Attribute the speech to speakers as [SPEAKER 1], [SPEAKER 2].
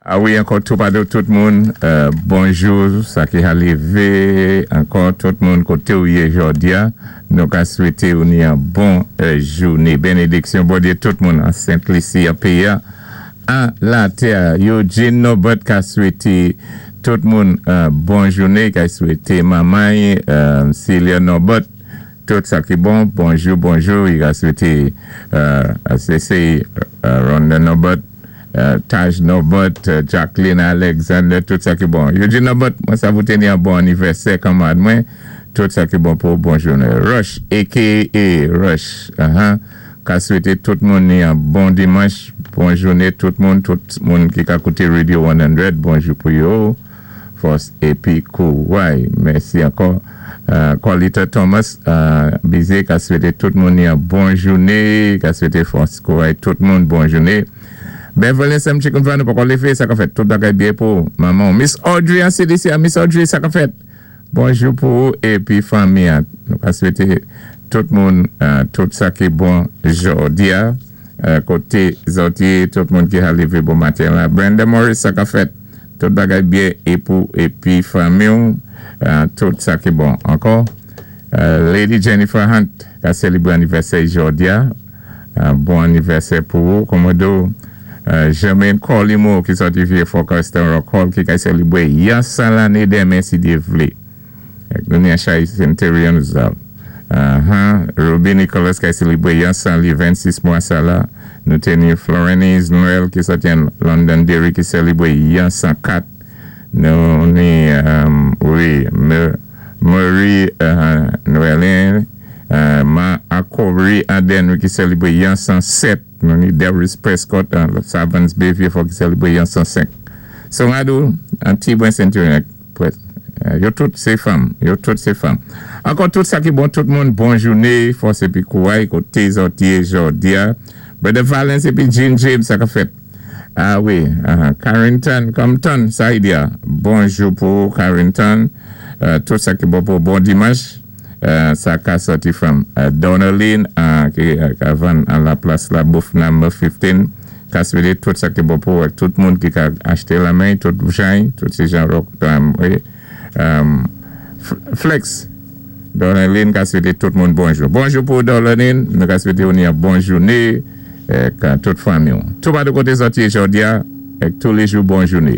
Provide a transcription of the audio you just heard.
[SPEAKER 1] A wi, ankò toupatou tout moun, bonjou, sa ki ka lévé, ankò tout moun koté ou yé jòdi-a, nou ka swété ou ni an bon jouné. Bénédiksyon Bondyé tout moun an Sent Lisi, an péyi-a, an latè. Eugene Norbert ka swété tout moun bon jouné, ka swété manman-y, Celia Norbert, tout sa ki bon, bonjou, bonjou, i ka swété se Rhonda Norbert, Taj Norbert, Jacqueline Alexander, tout sa ki bon. Eugene Norbert, mwen sa voté ni an bon anivèsè kanmad mwen, tout sa ki bon pou bon jouné. Rush, a.k.a. Rush, ka swété tout moun ni an bon dimanch, bon jouné tout moun ki ka kouté Radio 100, bonjou pou yo, fòs épi kouway. Mèsi ankò. Colita Thomas, Bizé, ka swété tout moun ni an bon jouné, ka swété fòs kouway tout moun bon jouné. Beverly Sam Chicken Van, nou pa kon lévé, sa ka fèt tout bagay byen pou manman. Miss Audrey an CDC, Miss Audrey, sa ka fèt. Bonjou pou ou épi fanmi. Nou ka swété tout moun tout sa ki bon jòdi-a. Koté zòt yé, tout moun ki ka lévé bon maten la. Brenda Morris, sa ka fèt. Tout bagay byen é pou épi fanmi, tout sa ki bon. Ankò, Lady Jennifer Hunt ka sélébré anivèsè jòdi-a. Bon anivèsè pou ou, Komodo. Jermaine Colimo ki sòti Vieux Fort Castor Rock Hall ki ka sélébré yon 100 lanné denmen si Dye vlé. Nou ni Chay Centurion Ruby Nicholas ki sélébré yon 100 li 26 mwa sa la. Nou té ni Florenise Noël ki sòti an Londonderry ki sélébré yon 104. Nou ni wi, Marie Noëlin Ma Akori Aden ki sélébré yon 107. Nou ni Darius Prescott an Savans Bay Vieux Fort ki sélébré yon 105. So Madou, an ti bwen Centurion, yo tout sé fanm, yo tout sé fanm. Ankò tout sa ki bon tout moun, bon jouné, fòs épi kouway, koté zòt yé jòdi-a. Brother Valence épi Jean James, sa ka fèt. A wi, Carrington Compton, sa y di-a. Bonjou pou Carrington, tout sa ki bon pou bon dimanch. Sa ka sòti from Donaline ki ka vann an la plas la bouf number 15. Ka swété tout sa ki bon pou tout moun ki ka achté la men, tout jan, tout sé jan rock, wi. Flex, Donaline ka swété tout moun bonjou. Bonjou pou Donaline, nou ka swété ou ni an bon jouné, tout fanmi. Toupatou koté zòt yé jòdi-a, tou lé jou bon jouné.